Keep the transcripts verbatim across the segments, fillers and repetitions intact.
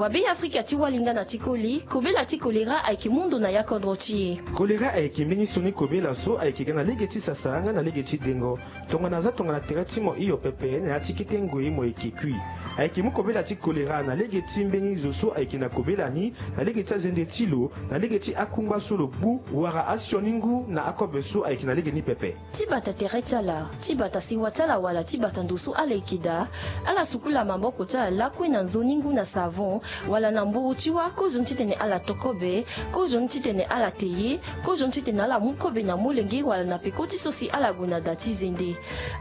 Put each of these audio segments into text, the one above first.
Wa Be Afrika ti wali nga na ti koli, kobela ti kolera ayeke mu ndo na ya kodro ti e. Kolera ayeke mbeni sioni kobela so ayeke ga na lege ti sasa nga na lege ti dengo. Tongana aza tongana tere ti mo hio pepe na ya ti kete ngoi mo yeke kui. Ayeke mu kobela ti kolera na lege ti mbeni zo so ayeke na kobela ni, na lege ti azende ti lo, na lege ti akungba so lo gbu, wala asioni ngu na akobe so ayeke na lege ni pepe. Ti bata tere ti ala, ti bata sewa ti ala wala ti bata ndo so ala yeke daa, ala sukula maboko ti ala lakue na nzoni ngu na savon, wala na mburu ti wâ, kozoni titene ala to kobe, kozoni titene ala te ye, kozoni titene ala mu kobe na molenge wala na peko ti so si ala gue na da ti zende.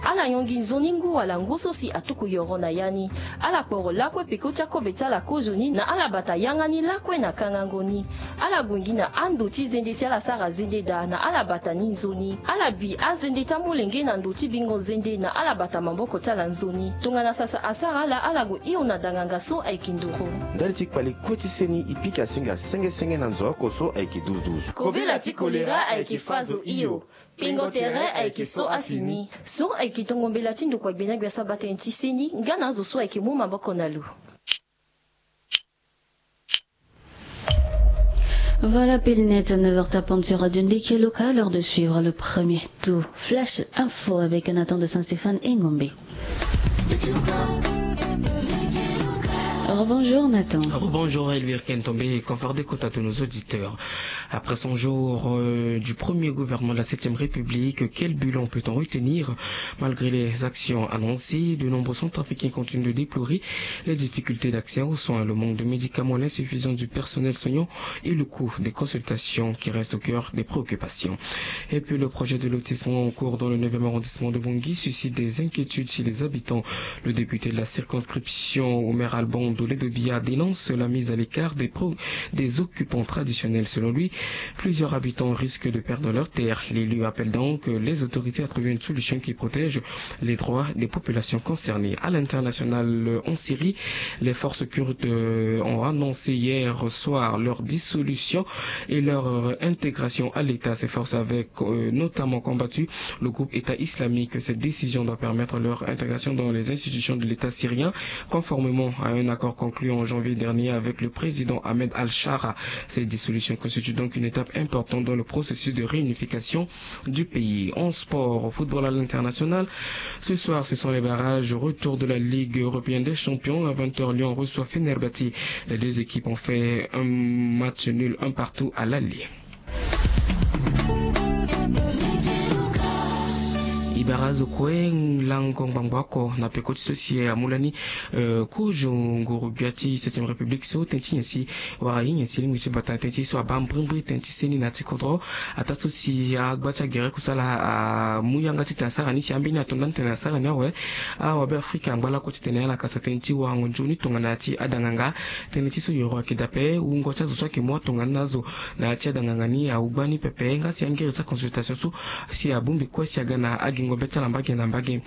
Ala yongi nzoni ngu wala ngu so si atuku yoro na ya ni. Ala kporo lakue peko ti akobe ti ala kozoni na ala bata yanga ni lakue na kangango ni. Ala gue gi na ando ti zende si ala sara zende daa na ala bata ni nzoni. Ala bi azende ti amolenge na ndo ti bingo zende na ala bata maboko ti ala nzoni. Tongana sasa asara ala, ala gue hio na danganga so ayeke nduru. Ndali ti kpale kue ti seni, e pika singa senge senge na nzo oko so ayeke douze douze. Kobela ti kolera ayeke fa zo hio. Pingo tere ayeke so afini. So ayeke tongo mbela ti ndokua gbena gbia so abaa tënë ti seni nga na azo so ayeke mu maboko na lo. Voilà, pile net à neuf heures tapante sur Radio Ndeke Loka, l'heure de suivre le premier tour Flash Info avec Nathan de Saint-Stéphane et Ngombe. Rebonjour Nathan. Rebonjour Elvire Kentombe et confort d'écoute à tous nos auditeurs. Après cent jours, euh, du premier gouvernement de la septième République, quel bilan peut-on retenir ? Malgré les actions annoncées, de nombreux centrafricains continuent de déplorer les difficultés d'accès aux soins, le manque de médicaments, l'insuffisance du personnel soignant et le coût des consultations qui reste au cœur des préoccupations. Et puis le projet de lotissement en cours dans le neuvième arrondissement de Bangui suscite des inquiétudes chez les habitants. Le député de la circonscription, Omer Alban Doledobia, dénonce la mise à l'écart des pro-, des occupants traditionnels. Selon lui, plusieurs habitants risquent de perdre leurs terres. L'élu appelle donc les autorités à trouver une solution qui protège les droits des populations concernées. À l'international, en Syrie, les forces kurdes, euh, ont annoncé hier soir leur dissolution et leur, euh, intégration à l'État. Ces forces avaient, euh, notamment combattu le groupe État islamique. Cette décision doit permettre leur intégration dans les institutions de l'État syrien, conformément à un accord conclu en janvier dernier avec le président Ahmed Al-Shara. Cette dissolution constitue donc une étape importante dans le processus de réunification du pays. En sport, au football à l'international, ce soir, ce sont les barrages. Retour de la Ligue européenne des champions. À vingt heures, Lyon reçoit Fenerbahçe. Les deux équipes ont fait un match nul, un partout à l'aller. E bara azo kue lango ngbangbo oko na peko ti so si amu lani, euh, kozo nguru gbia ti septième république so tënë ti nyen si wara ye nyen si lingbi ti bata tënë ti so abaa mbrimbri tënë ti seni na ya ti kodro. Ataa so si agba ti agere kusala amu yanga titene asara ni si ambeni ato ndani titene asara ni awe. Awabe afrika angba lakue titene ala kasa tënë ti warango nzoni tongana ya ti adanganga. Tënë ti so yoro ayeke daa ape, wungo ti azo so ayeke mu atongana na azo na ya ti adanganga ni awu gbani pepe nga si angiri ti aconsultation so si abongbi kue si aga na agingo be ti ala mbage na mbage.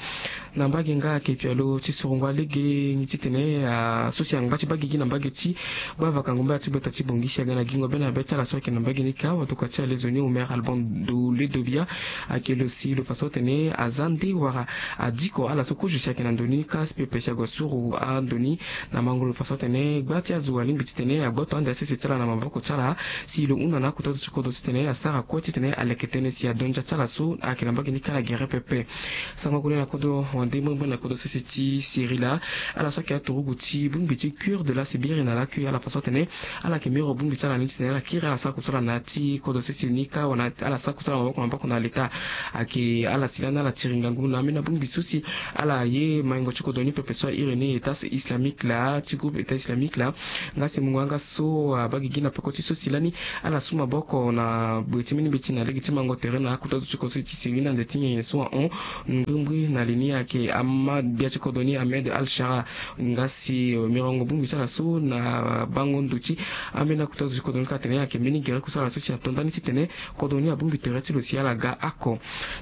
Na mbage nga ayeke pialo ti sorongo alege ni titene, ah, so si angba ti baa gigi na mbage ti gbavakango mbage ti gbata ti Bangui si aga na gingo be na be ti ala so ayeke na mbage ni kâ. Watokua ti alezo ni Omer Alban Doledobia ayeke lo si lo fa so atene aza nde wara adiko ala so kozo si ayeke na ndo ni kâ si pepe si ague suru ando ni na mango lo fa so atene gba ti azo alingbi titene agboto ande asese ti ala na maboko ti ala si lo hunda na akota zo ti kodro titene asara kue titene aleke tënë si adondia ti ala so ayeke na mbage ni kâ na gere pepe. Sango kue na kodro wande mbrimbri na kodro sese ti Syrie laa, ala so ayeke aturugu ti bongbi ti cure de la Sibérie na lakui ala fa so atene ala yeke miro bongbi ti ala ni titene ala kiri ala sara kusala na ya ti kodro sese ni kâ wala ala sara kusala maboko na maboko na leta. Ayeke ala si lani ala tiri ngangu na ambeni abongbi so si ala ye maingo ti kodro ni pepe so airi ni État islamique laa ti groupe État islamique laa. Nga si mungo yanga so abaa gigi na peko ti so si lani ala su maboko na gbe ti mbeni mbeti na lege ti mango tere na akota zo ti kodro ti Syrie na nze ti nyenye so ahon. Mbrimbri na li ni ayeke ama gbia ti kodro ni Ahmed Al Shara. Nga si, eh, mirongo bongbi ti ala so na bango ndo ti ambeni akota zo ti kodro ni kâ atene ayeke mbeni gere kusala so si ato ndani titene kodro ni abongbi tere ti lo si ala ga oko.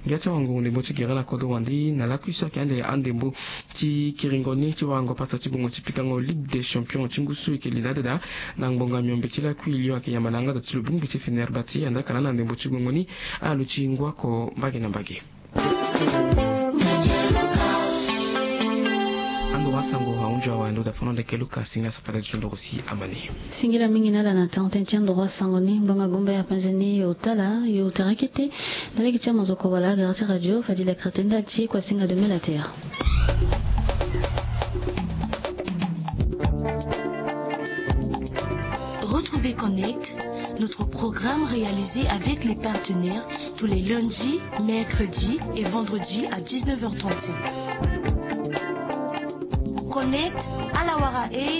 Ngia ti awango ndembo ti gere na kodro wande na lakui so ayeke ande andembo ti kiringo ni ti warango pasa ti gongo ti pikango Ligue des Champions ti ngu so e yeke li na adada na ngbonga miombe ti lakui Lyon ayeke yamba na yanga da ti lo bongbi ti Fenerbahçe. Andaka lani na ndembo ti gongo ni alo ti ngu oko mbage na mbage. Sango ahunzi awe ndo da fono ndeke luka singila safata ti ndoro si amani. Singila mingi na ala na tante ti ndoro asango ni ngbanga gumba ya penze ni yo tala yo tara kete. Na lege ti amazoko wala agara ti radio fadi la kretenda ti kua singa de mela terre. Retrouvez Connect, notre programme réalisé avec les partenaires tous les lundis, mercredis et vendredis à dix-neuf heures trente-cinq. Connect, ala wara e.